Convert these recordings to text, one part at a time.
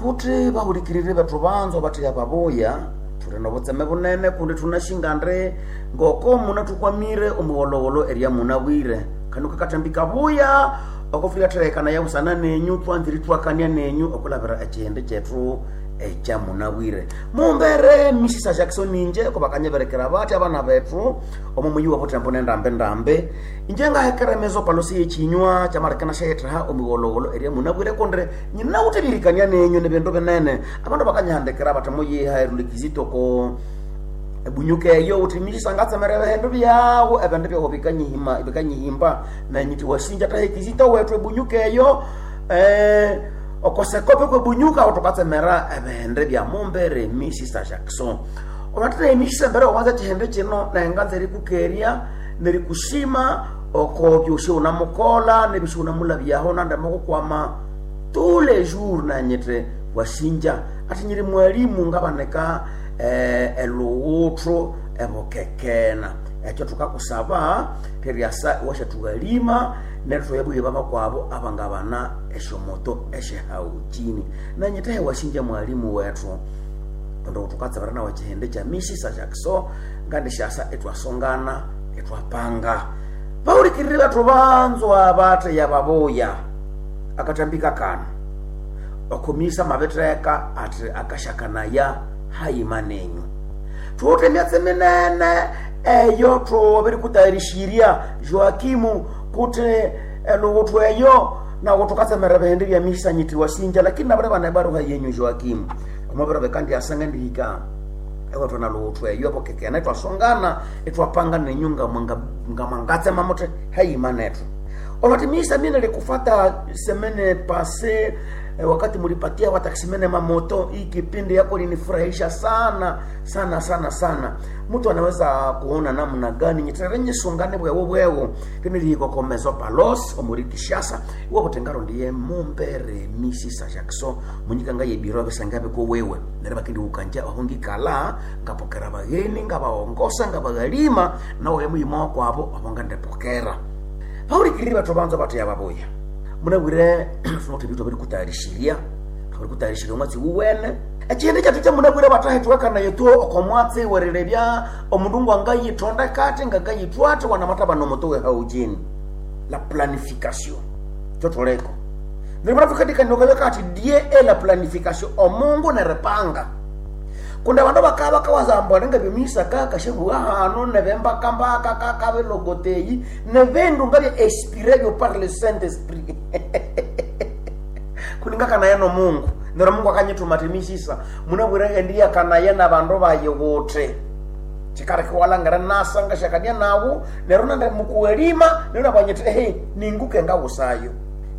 Kuti bahulikirire bethu banzo batheya babuya, thuli nobutseme bunene kundi thunashinga ndi ngoko munathukwamire omuwolowolo erya munabwire. Kanu kakathambika kabuya oko thuyatherekana busana nenyu, twanzire ithwakania nenyu okulabira ekihindi kyethu ekya munabwire. Mumbere Mrs Jackson inje ko bakanyiberekera bathi abana bethu omo muyi wa butembo nendambe-ndambe. Inje ngahekera emezo palosi y'ekinywa kyamarekana syayethaha omuwolowolo erya munabwire kundi nyinawuthe ebyerikania nenyu nibindu binene. Abandu bakanyihandikira bathi muyiha erulekizito ko ebunyuka eyo uthi Mrs ngatsemera ebindu byawu, ebindu byawu bikanyihima, bikanyihimba nanyithi wasinja thaha ekizito wethu ebunyuka eyo, okosekope kwebunyuka aho thukatsemera ebindi bya mumbere Mrs Jackson. Olwathina Mrs embere owanza ekihindi kino nenganza erikukerya nerikushima oko byosi wunamukolha nebyosi wunamulabyaho nande mukukwama tous les jours nanyithe wasinja athi nyiri mwalimu ngabanika elhughuthu ebukekena. Ekyo thukakusaba theryasa iwasyathughalima neryo thwayabughe babakwabo abangabana esyomoto esyahauchini. Nanyithe wasinja mwalimu wethu kundi thukatsebera nawe ekihindi kya Mrs Jackson ngandisyasa ithwasongana ithwapanga. Bahulikirire bethu banzwa batheya babuya akathambika kano okomisa mabitheka athi akasyakanaya hayima nenyu. Thuwithe emyatsi minene eyo thwabirikutayarishirya Joakimu kuti elhughuthu eyo nawu thukatsemera ebihindi bya Mrs nyithi wasinja, lakini nabiribana ebaruha yenyu Joakimu. Omwabiro bikandyasa ngandihika ewethu nalhughuthu eyo ebukekene ithwasongana ithwapanga nenyu ngamwangatsema muthi hayima nethu. Olwathi Mrs mine likufata semene pase, wakati mulipatia watakisimene mamoto, hii kipindi yako linifurahisha sana sana sana sana. Mtu anaweza kuona namna gani nyiterere nyisungane bwewo bwewo tinilihikokomezo palos omuri Kishasa iwo butengaro ndiye mumbere Mrs Jackson munyikanga yebiro bisangabe ko wewe nere bakindi ukanja ohongikala ngapokera bageni ngabaongosa ngabaghalima nawe muyimo kwabo abonga ndepokera. Bahulikirire bathu banza bathu yababuya. Munabwire thunothi ebindu thwabirikutayarisirya, thwabirikutayarisirya omwatsi wuwene. Ekihindi kyethu kyamunabwire bathahethuwakana yethu oko mwatsi werilebya omundu ngwangayithondeka athi ngangayithwa athi wanamathabana omuto wehaujini. La planification kyothuliko. Neryo munathukathikania okabya kathi Dieu est la planification, omungu neripanga. Kundi abandu bakabya bakawaza ambu alinga ebyomuyisaka kasyabuwa hano nebembakambaka kakabilogoteyi nebindu ngabya inspiré byo par le Saint Esprit. Kundi ngakanaya nomungu neryo Mungu akanyithuma athi Misisa munabwire endiyakanaya nabandu bayi wuthi kikaleka iwalhangira nasa ngasyakania nawu neryo nandi mukuwalima neryo nabwanyithi ehe ninguke ngawusayo.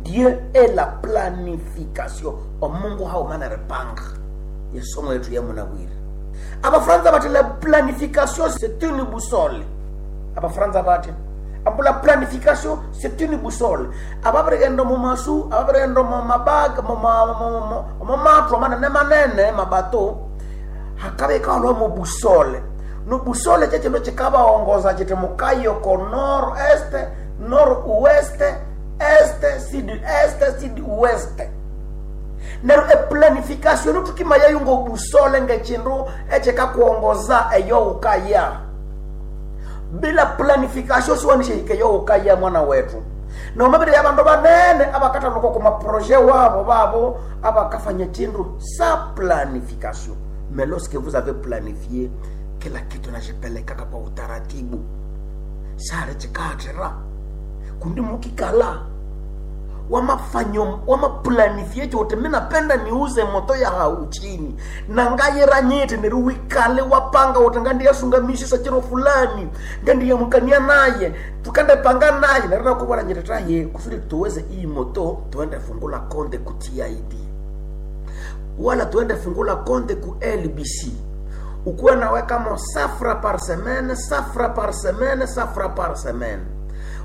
Dieu est la planification, omungu haghuma neripanga. Yesomo yetu yamunabwire. Abafaransa bathi la planification c'est une boussole. Abafaransa bathi ambu la planification c'est une boussole. Ababirighenda omu masu, ababirighenda omu mabaga, omu mathu manene manene mabato, hakabya ikaholwa mu boussole. No boussole kyekindu kikabaongoza kiti mukayoko nord est, nord ouest, est, sud est, sud ouest. Neryo eplanification thukimayayo ngobusole ngekindu ekyikakuongoza eyo wukaya. Bila planification siwanishihika eyo wukaya mwana wethu. Nomabiri abandu banene abakathaluka okwa maproje wabo babo abakafanya kindu sa planification. Mais lorsque vous avez planifié kila kitu najipelekaka kwa utaratibu, sare chikathira kundi mukikala wamafanyo wamaplanifie chote mi napenda niuze moto ya hau chini na ngayira nyiti neri wikale wapanga uti ngandiyasunga misisa chiro fulani ngandiyamukania naye tukandepanga naye neri nakubona nyiti taye kusudi tuweze iyi moto tuende fungula konde ku TID wala tuende fungula konde ku LBC ukuwe naweka mo safra par semaine, safra par semaine, safra par semaine.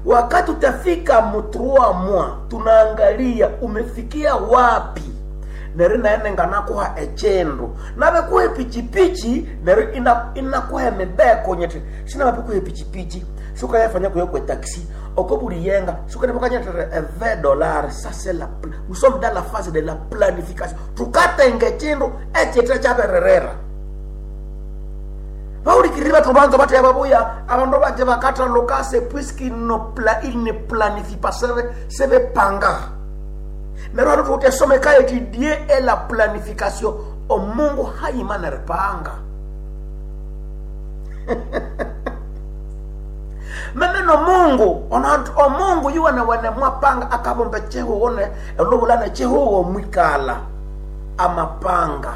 Wakati utafika mu 3 mois tunaangalia umefikia wapi. neryo naye nganakuha echindu nabikuha epichipichi neryo inakuha emibeko nyiti sinamabikuha epichipichi sukayafanya kuyo kwe taxi oko buli yenga sukanepakanyatira $20. Ça c'est la nous sommes dans la phase de la planification. Tukatenge echindu echite chabererera. Baulikirira bathu banza batya babuya abandu baje bakathaluka c'est puisqu'il ne planifie pas sebepanga. Neryo hano thukuthi esomeka eti Dieu est la planification. Omungu hayima neripanga. Meme nomungu onantu omungu yuwene wene mwapanga akabumba chihuho ne elubulana chihuho mwikala amapanga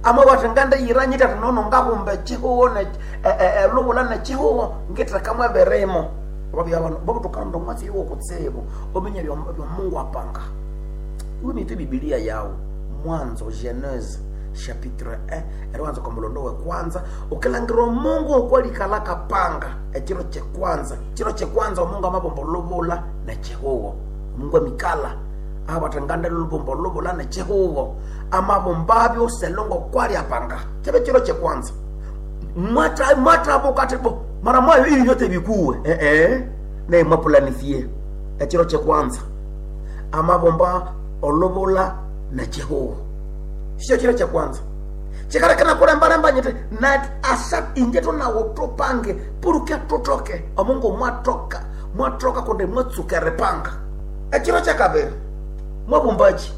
amabati ngande yiranyita tinono ngabumba chihuho ne elubulana chihuho ngithakamwe berimo babutukanda omwatsi yuwo kutsibu omenye bya Mungu apanga. Iwe nite Biblia yawo Mwanzo Genese chapitre 1 eriwanza kwa mulondo we kwanza ukilangira omungu okwalikala kapanga ekiro kyekwanza kiro kyekwanza omungu amabomba olubula nekihugo omungu emikala abatanganda lubomba olubula nekihugo amabomba abyo selongo kwali apanga kyebe kiro kyekwanza mwatabuka ati bo mara mwayo ili yote bikuwe naye mwapulanifie ekiro kyekwanza amabomba olubula nekihugo sio chiro cha kwanza chikarekana kulembalemba nyete na asa inje tunawo tupange puruke tutoke omungu mwatoka mwatoka kunde mwatsuka panga echiro cha kabiri mwabumbaji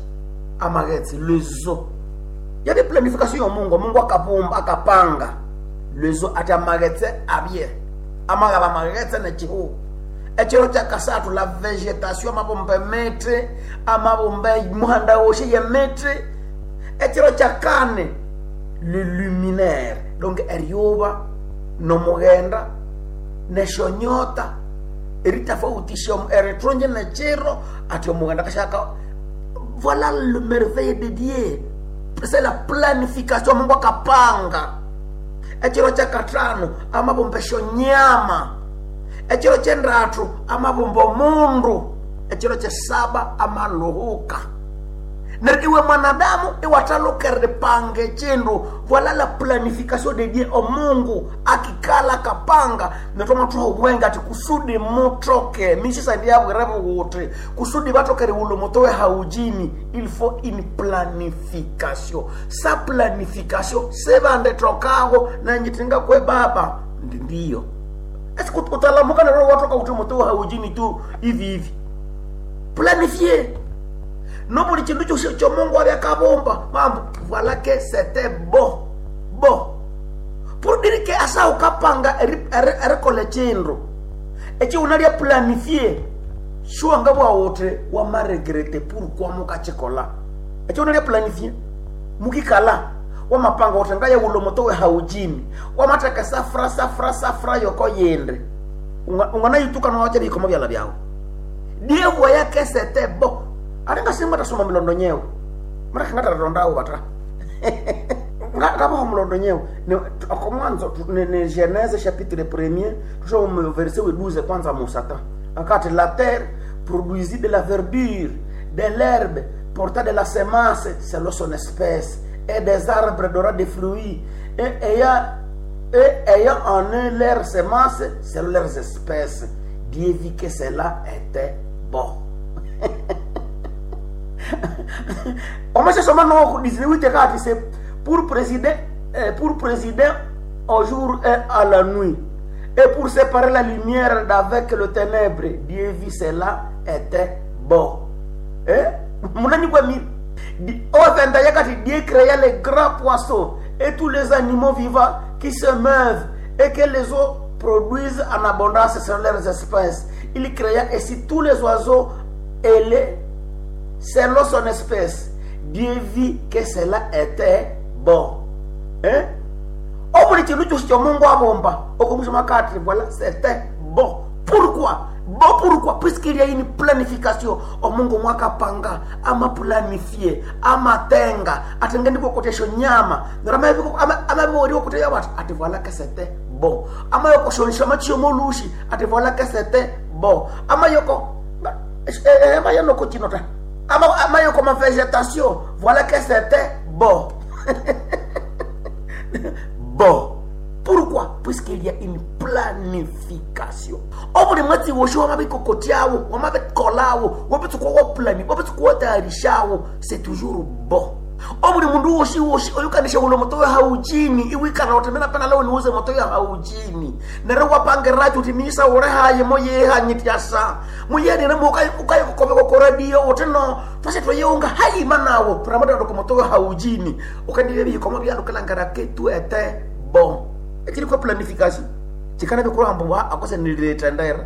amagetsi lezo yali planification ya Mungu. Mungu akabumba akapanga lezo ati amagetsi abye amagaba amagetsi nechihu. Echiro cha kasatu la vegetation amabumba mete amabumba muhanda woshe ye mete. Echiro cha kane le luminaire donc eryoba nomugenda neshonyota eritafautisha eritronje nechiro ati omugenda kashaka. Voilà le merveille de Dieu, c'est la planification. Mungu akapanga. Echiro cha katano amabumba shonyama. Echiro chendatu amabumba mundu. Echiro cha saba amaluhuka. Neryo iwe mwanadamu iwatalukere pange chindu. Voilà la planification de Dieu. Omungu akikala kapanga netoma tuho bwenga ati kusudi mutoke mishisa ndiyabwerevo kuti kusudi batokere ulo mutowe haujini. Il faut une planification. Sa planification sebande tokaho nanyitinga kwe baba ndiyo esikutalamuka nero watoka kuti mutowe haujini tu hivi hivi. Planifier no buli chindu kyose kyo Mungu abyakabumba mambo. Voilà que c'était bon bon pour dire que asa ukapanga erikole chindu echi unalya planifier shuanga bwa wote wa maregrete pourquoi mukachikola echi unalya planifier mukikala wa mapanga wote ngaya ulo motowe haujini wa mataka safra safra safra yoko yende unganayituka na wacha bikomo byala byawo. Dieu voyait que c'était bon. Aringa simba tasoma milondo nyewe mara kangata bata ngaba mulondo nyewe ne akomwanzo ne Genèse chapitre 1er tusoma verset 12 kwanza musata akati la terre produisit de la verdure de l'herbe porta de la semence selon son espèce et des arbres donnant des fruits et ayant en eux leur semence selon leurs espèces. Dieu vit que cela était bon. Omashasoma no 18 kati c'est pour présider au jour et à la nuit et pour séparer la lumière d'avec le ténèbre. Dieu vit cela était bon. Munani kwa mi yakati Dieu créa les grands poissons et tous les animaux vivants qui se meuvent et que les eaux produisent en abondance selon leurs espèces. Il créa ainsi tous les oiseaux et les selon son espèce. Dieu vit que cela était bon. Hein? Obuli chindu chosi cho Mungu abomba okomusoma kati voilà c'était bon. Pourquoi? Bon pourquoi? Puisqu'il y a une planification. Omungu mwakapanga ama planifie amatenga atengeni kokotesho nyama ama koteya watu ati voilà que c'était bon. Ama yoko shonsha machio molushi ati voilà que c'était bon. Ama yoko ama yoko chinota ama Ukayokoma végétation, voilà que c'était bon. Bon. Pourquoi? Puisqu'il y a une planification. Obuli mwatsi wosho wamabikokotyawo, wamabikolawo, wabitsukowo plani, wabitsukowotayarishawo, c'est toujours bon. Obuli mundu woshi woshi oyukanisha ulo moto ya haujini iwikana utemena pana leo niuze moto ya haujini nere wapangiracho uti misa ure haye moyehanyityasa muyenire ukayikukobeka ko radio uti no twase tweyeunga hayima nawo tunamatandoko moto ya haujini ukandiye bikomo byandukilangara ketu ete bon ekiri kwa planification chikana bikulamba akose nililetendera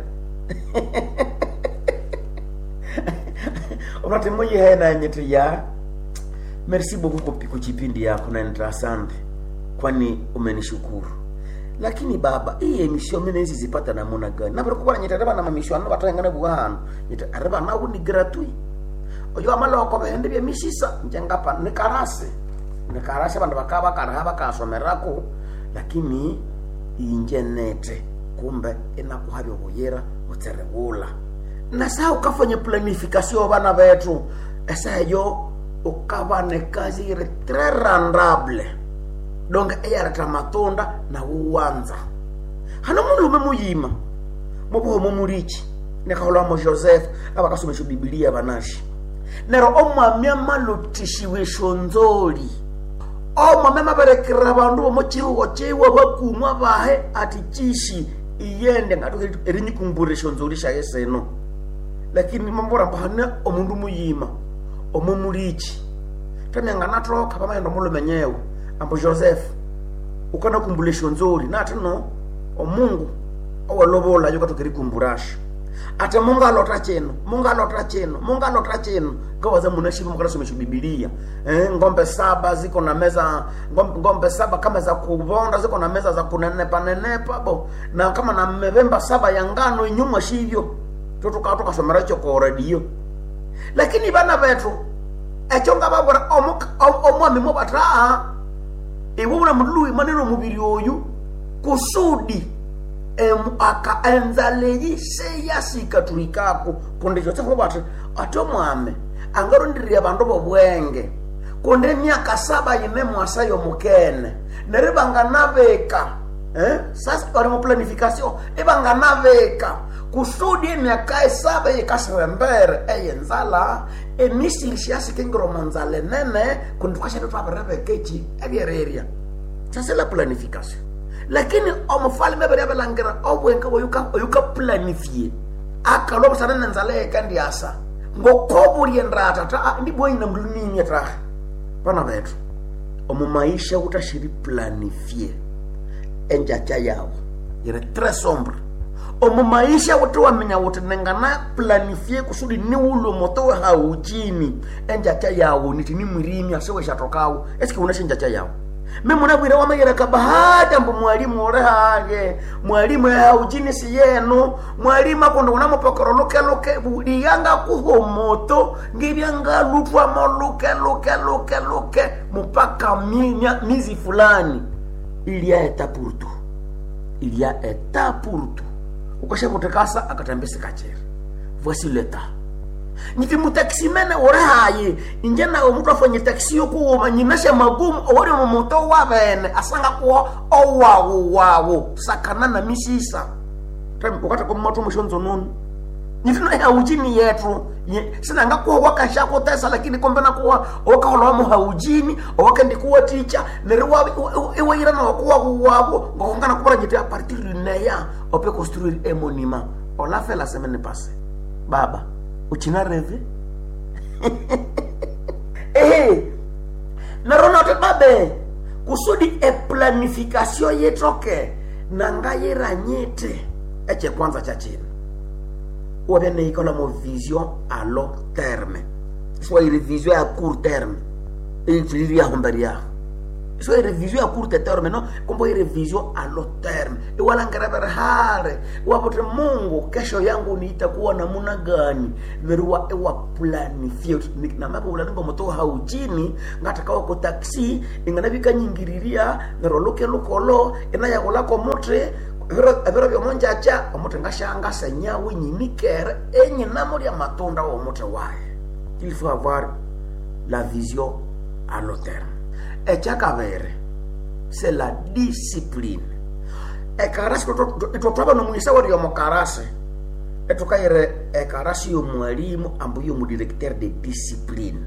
unati muyihena nyiti ya merci beaucoup kuchipindi yako na asante kwani umenishukuru. Lakini baba, hii emission mimi nezi zipata namuna gani? Na kwa nyita raba na mamishwano batangana bwa nyita raba na ni gratuit. Oyo amala ko behende bya misisa njengapa ni karase. Ni karase bandu bakaba karaha bakasomerako lakini injenete kumbe inakuhabya buyera utserebula. Na saa ukafanya planification bana betu esa yo ukaba ne kazi iri très rentable donc eyareta matunda na wuwanza hano mulume muyima mubuhomo mulichi nekhaholwamo Joseph abakasomesha bibilia banashi nero omwami amalutishiwe shonzoli omwami amaberekera bandu bomo chihugo chiwa bakumwa bahe ati chishi iyende ngatuke erinyikumburisha shonzoli shaye seno lakini mambora mbahane omundu muyima omo mulichi tamyanganathoka pamaenda mulumenyewe ambo Joseph ukana kumbula eshonzoli nati no omungu owalobola yo katokeri kumburasha ate mungu alota chino mungu alota chino mungu alota chino ngawaza munashiva mukanasomesha bibilia ngombe saba ziko na meza ngombe saba kama za kubonda ziko na meza za kunenepa nenepa bo na kama na mevemba saba ya ngano inyuma shivyo tutuka tukasomera cho ko radio lakini bana betu ekyo nga babura omwami mubata iwe una mului maneno mubiri oyu kusudi aka enzaleyi seyasikaturikako kundi Joseph mubati ate omwami angarondirirya bandu bobwenge kundi emyaka saba yine mwasa yomukene neryo banganabika sasa bali mu planification ibanganabika kusudi emyaka esaba yikasirembere eyenzala emisiri syasikengire omu nzala enene kundi thukasyabe thwabirebeka eki ebyererya sasa la planification lakini omufalme abere abalangira obwenge oyukaplanifie akalwa busana nenzala yekandyasa ngokobulye ndata ta ndibwaina mlunimya tahe bana bethu omu maisha utashiri planifie enjacha yawo yiri très sombre omu maisha wuti waminya wuti ningana planifie kusudi niwulwe moto wehauchini enjacha yawo niti nimwirimya siweshathokawo esike wunasha enjacha yawo mimunabwire wamayira kabahati mbu mwalimu orehage mwalimu ehauchini siyenu mwalimu akundi unamupokero luke luke liyanga kuho moto ngibyangalutwamo luke luke luke luke mpaka mizi fulani il y a état pour tout il y a état pour tout ukashakutekasa akatambisi kachera voici l'état nyiti mutaximene uri hayi inje nawe mutu afanye taxi yokuwuma nyinasha magumu owori mumuto wabene asanga kuwo owawu wawu sakana na misisa ukati kumatu mushonzo nunu nyiti no haujini yetu sinanga kuwa wakashakutesa lakini kombe nakuwa owakaholwa muhaujini owakendikuwa ticha neri iwaira nokuwa wawu ngokongana kubura nyiti a partir du néant on peut construire un monument on l'a fait la semaine passée baba uchina reve ehe narona kuti babe kusudi eplanification yetoke nangayiranyite echekwanza cha chino wabya neikola mo vision à long terme soit iri vision à court terme iri yahumberi yaho so iri vision à court terme no kumbe iri vision à long terme iwalangira hare iwapote Mungu kesho yangu niitakuwa namuna gani neriwa iwa planifie namapulaningo moto hauchini ngatakawa ko taxi inganabikanyingiriria nero luke lukolo inayakulako muti ebiro byomunjacha omuti ngashanga senyawo nyinikere enyinamo lya matunda womuti waye il faut avoir la vision à long terme. Ekyakabiri, c'est la discipline. Ekarasi itwe nomuyisa weri yomukarasi etukayire ekarasi yomwalimu ambu yomudirecteur de discipline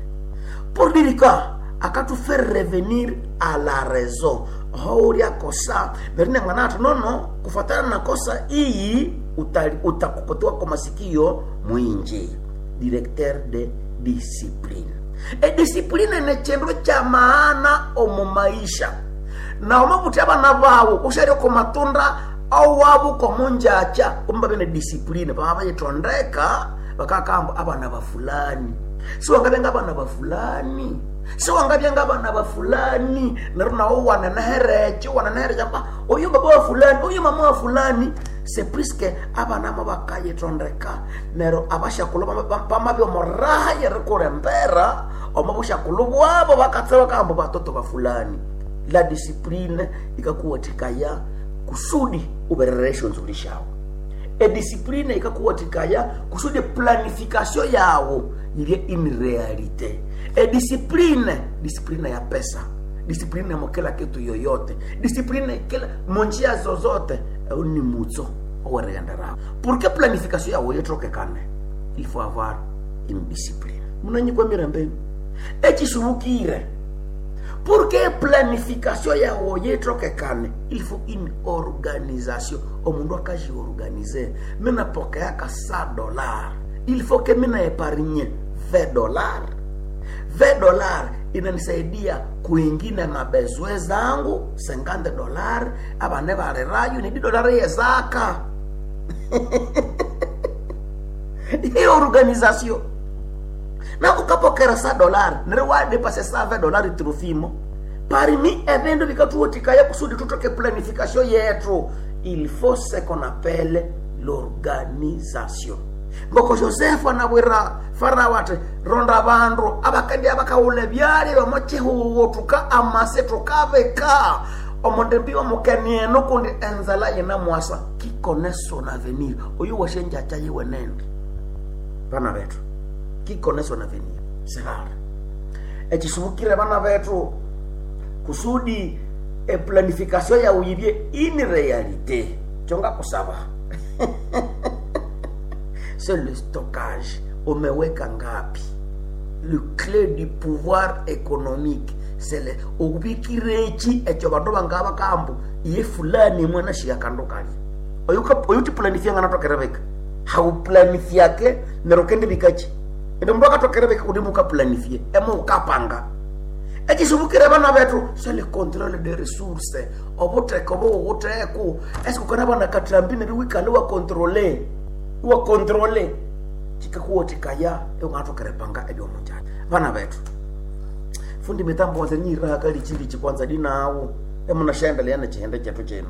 pour dire quoi akatufaire revenir à la raison houria kosa nerine mwana ati nono kufatana na kosa iyi utakokotewa kwa masikio mwinji. Directeur de discipline. Ediscipline ne chindu cha maana omu maisha na omabuti abana bawo usharyo ko matunda awabo komunjacha kumba bene discipline baba bayitondeka bakakamba abana ba fulani si wangabyenga abana ba fulani si wangabyenga abana ba fulani neryo nawo wananehereche wananehereche amba oyu baba wa fulani oyu mama wa fulani c'est puisque abana mo bakayitondeka neryo abashakulhu bamabya omoraha yerikulembera omo bushakulhu bwabo bakatse bakahamba batoto ba fulani. La discipline ikakuwathikaya kusudi uberere eshonzuli shawo. Ediscipline ikakuwathikaya kusudi planification yawo yilye in realite. Ediscipline, discipline ya pesa, discipline mo kila kitu yoyote, discipline kila monjia zozote, au ni mutso owerighenderawo. Pour que planification yawo yithokekane, il faut avoir une discipline. Munanyikwa mirembe echisubukire. Pour que planification yawo yithokekane, il faut une organisation. Omundu akajiorganize, mina pokeaka $100, il faut que mina épargne $20. $20 inanisaidia kuingina mabezwe zangu $50 abane balerayo ni $10 yezaka. Hiyo organisation na ukapokera $100 neryo wadepase $7 trofimo parmi ebindu bikathuwathikaya kusudi thutoke planification yethu. Il faut ce qu'on appelle l'organisation. Ngoko Joseph anabwira Farao ati ronda abandu abakandi abakawula ebyalya omo kihugo thuka amase thukabika omundembi omukeni eno kundi enzala yinamwasa kikone son avenir. Oyu washenjacha yiwenene bana bethu kikone son avenir sihara ekisubukire bana bethu kusudi eplanification yawu yibye in realite kyonga kusaba c'est le stockage. Umeweka ngapi? Le clé du pouvoir économique c'est le okubikirechi ekyo bandu bangaba kambu iye fulani mwana shika kandu kali oyuti planifia ngana tokerebeka hauplanifyake nero kende bikachi ndo mndu akatokerebeka kuti mukaplanifie emo ukapanga ekisubukire bana bethu c'est le contrôle des ressources obutheko buwutheko esikukana bana katrambi neryo wikale wakontrole wakontrole chikakuwathikaya eungathokerepanga ebyomunjani bana bethu fundi mitambo wanze nyiraka lichilichi kwanza dinawo emunashaendelea nechihende chetu chino.